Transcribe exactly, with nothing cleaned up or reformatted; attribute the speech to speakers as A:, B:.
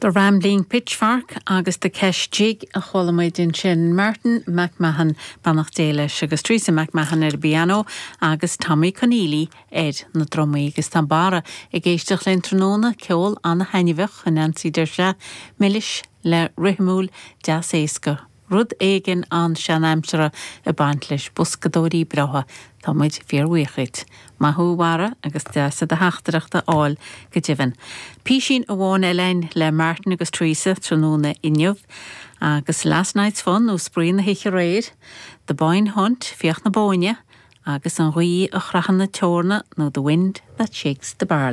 A: The Rambling Pitchfork agus The Kesh Jig a chuala muid ansin Martin McMahon beannacht Dé leis agus Teresa McMahon ar piano agus Tommy Conneely ar na drumaí agus tá Barra ag éisteacht linn tráthnóna ceol an-thaitneamhach a Nancy deir sé milis le rithimiúil deas éasca. Rud éigin an sean-aimsire ag baint leis boscadóirí breátha Tá muid fíorbhuíoch. Maith thú a Bharra agus deas do theachtaireacht a fháil go deimhin. Písín amháin eile le Martin agus Teresa tráthnóna inniu, agus Last Night's Fun nó Spraoi na hoíche aréir, The Boyne Hunt Fiach na Bóinne, agus an ghaoth a chroitheann na eorna nó The Wind that Shakes the Barley.